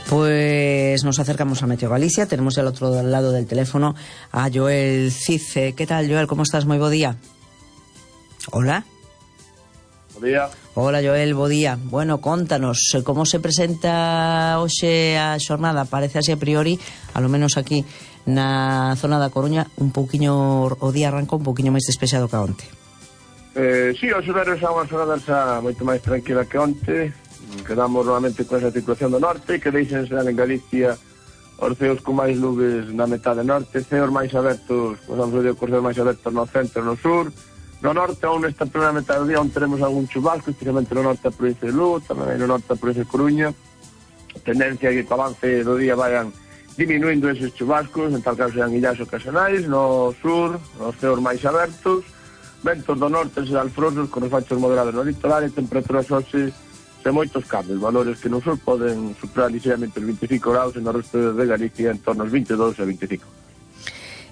Pues nos acercamos a Meteo Galicia. Tenemos al otro lado del teléfono a Joel Cice. ¿Qué tal, Joel? ¿Cómo estás? Moi bo día. Hola. Bo día. Hola, Joel, bo día. Bueno, contanos, como se presenta hoxe a xornada? Parece así a priori, a lo menos aquí na zona da Coruña, un pouquiño, o día arrancou un pouquiño máis despexado que onte. Sí, os horarios son unha xornada xa moito máis tranquila que onte. Quedamos normalmente con esa situación do norte, que deixen ser en Galicia os ceos con máis nubes na metade norte, ceos máis abertos, vamos a ver, os ceos máis abertos no centro e no sur. No norte, aún nesta primeira metade do día, onde teremos algún chubasco, especialmente no norte da provincia de Lugo, tamén no norte da provincia de Coruña. A tendencia é que o avance do día vayan diminuindo eses chubascos, en tal caso sean illas ocasionais, no sur, nos ceos máis abertos, ventos do norte serán alfrosos, con os fachos moderados no litoral e temperaturas hoxe sen moitos cambios, valores que no sur poden superar ligeramente os 25 graus e no resto de Galicia en torno aos 22 e 25.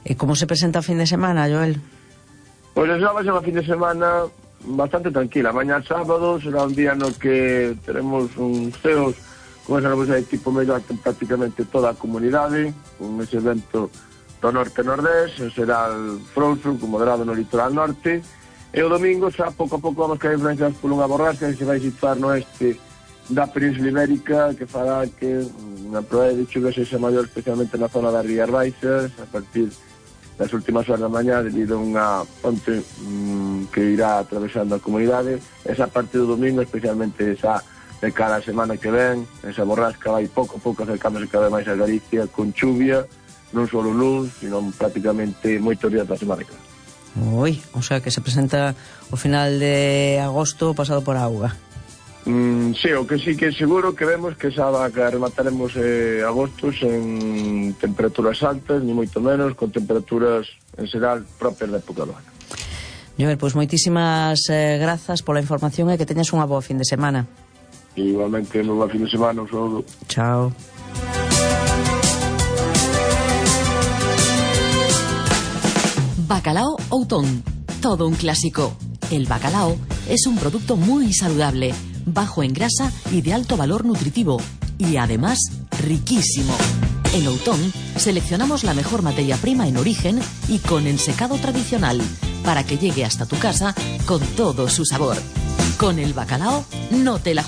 E como se presenta o fin de semana, Joel? Pois xa vai ser unha fin de semana bastante tranquila. Mañá sábado será un día no que teremos uns ceos con esa nubosidade de tipo mellor en prácticamente toda a comunidade, con ese vento do norte-nordés, será frouxo, con moderado no litoral norte. E o domingo xa pouco a pouco vamos caer influenciados por unha borrasca que se vai situar no oeste da Península Ibérica, que fará que a probabilidade de chuvia sexa maior, especialmente na zona das Rías Baixas, a partir das últimas horas da mañá, debido a unha ponte que irá atravesando a comunidade. Esa parte do domingo, especialmente esa de cada semana que ven, esa borrasca vai pouco a pouco acercándose cada vez máis a Galicia, con chuvia, non só luns, sino prácticamente moitos días da semana que ven. Ui, o sea que se presenta o final de agosto pasado por auga. Sí, o que sí que é seguro que vemos que xa que remataremos agosto en temperaturas altas, ni moito menos, con temperaturas en xeral propias da época do ano. Joel, pois moitísimas grazas pola información e que teñas unha boa fin de semana. Igualmente, moi boa fin de semana, un saúdo. Chao. Bacalao Outón, todo un clásico. El bacalao es un producto muy saludable, bajo en grasa y de alto valor nutritivo, y además riquísimo. En Outón seleccionamos la mejor materia prima en origen y con ensecado tradicional, para que llegue hasta tu casa con todo su sabor. Con el bacalao no te la juegues.